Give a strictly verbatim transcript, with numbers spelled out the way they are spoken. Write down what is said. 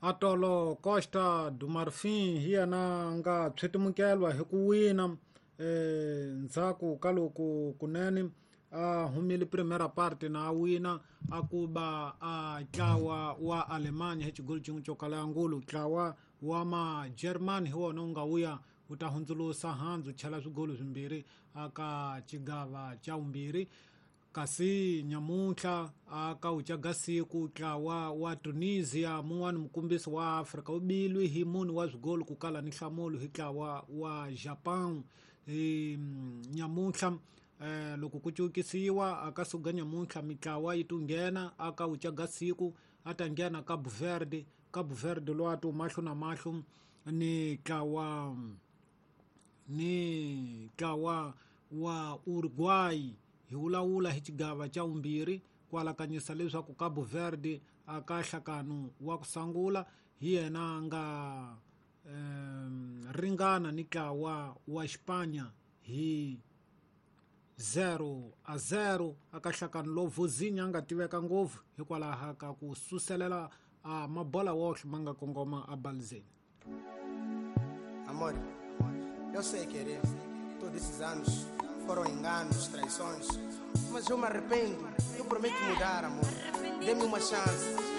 Atolo Costa do Marfim hi yena nga tshwetimukelwa hi ku wina eh ndzhaku ka loko kunene a humile primera parte na a wina a kuba a ntlawa wa Alemanya hi xigolo xin'we xo kala ya ngulu. Ntlawa wa ma German hi wona wu nga wuya wu ta hundzulusa handzu chela swigolo swimbirhi aka xigava xa vumbirhi. Kasi nyamuntlha aka wu caga siku ntlawa wa Tunisia mun'wani mukumbisi wa Afrika wu bilwi hi mune wa swigolo ku kala ni nhlamulo hi ntlawa wa Japan. Hi nyamuntlha eh loko ku cukisiwa aka suka nyamuntlha mitlawa yi tunghena aka wu caga siku a ta nghena Cabo Verde. Cabo Verde lowu a ti mahlo na mahlo ni ntlawa ni ntlawa wa Uruguay. Hi vulavula hi xigava xa vumbirhi ku alakanyisa leswaku Cabo Verde aka nhlakano wa ku sungula hi yena nga um, ringana ni ntlawa wa Xipanya hi zero a zero aka nhlakano lowu Vozinha a nga tiveka ngopfu hikwalaho ka ku suselela a mabola wohle ma nga kongoma a balizeni. Amor, eu sei querer. Todos esses anos foram enganos, traições, mas eu me arrependo. Eu prometo mudar, amor. Dê-me uma chance.